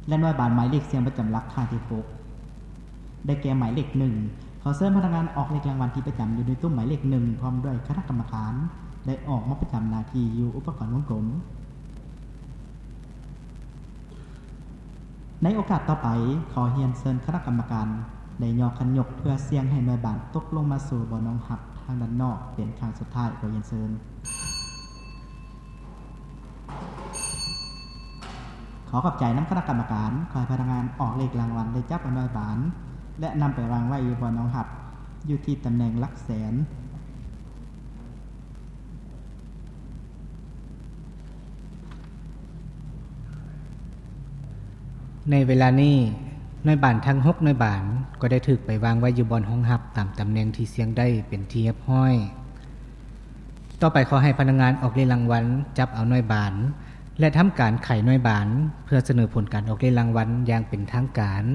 ແລະ ໜ່ວຍບານໝາຍເລກສ່ຽງປະຈຳຫຼັກຄັ້ງທີຫົກ ໄດ້ແກ່ໝາຍເລກໜຶ່ງ. ຂໍເຊີນພະນັກງານອອກເລກລາງວັນທີ່ປະຈຳຢູ່ໃນຕຸ້ມໝາຍເລກໜຶ່ງ ພ້ອມດ້ວຍຄະນະກຳມະການ ໄດ້ອອກມາປະຈຳໜ້າທີ່ຢູ່ອຸປະກອນວົງກົມ. ໃນໂອກາດຕໍ່ໄປ, ຂໍຮຽນເຊີນຄະນະກຳມະການໄດ້ຍໍຂັນຍົກເພື່ອສ່ຽງໃຫ້ໜ່ວຍບານຕົກລົງມາສູ່ບ່ອນຮອງຮັບທາງດ້ານນອກເປັນຄັ້ງສຸດທ້າຍ. ຂໍຮຽນເຊີນ. ຂໍຂອບໃຈນຳຄະນະກຳມະການ. ຂໍໃຫ້ພະນັກງານອອກເລກລາງວັນໄດ້ຈັບເອົາໜ່ວຍບານ ແລະ ນຳໄປວາງໄວ້ຢູ່ບ່ອນຮອງຮັບ ຢູ່ທີ່ຕຳແໜ່ງຫຼັກແສນ. ໃນເວລານີ້, ໜ່ວຍບານທັງຫົກໜ່ວຍບານກໍໄດ້ຖືກໄປວາງໄວ້ຢູ່ບ່ອນຮອງຮັບຕາມຕຳແໜ່ງທີ່ສ່ຽງໄດ້ເປັນທີ່ຮຽບຮ້ອຍ. ຕໍ່ໄປຂໍໃຫ້ພະນັກງານອອກເລກລາງວັນຈັບເອົາໜ່ວຍບານ ແລະ ທຳການໄຂໜ່ວຍບານ ເພື່ອສະເໜີຜົນການອອກເລກລາງວັນຢ່າງເປັນທາງການ.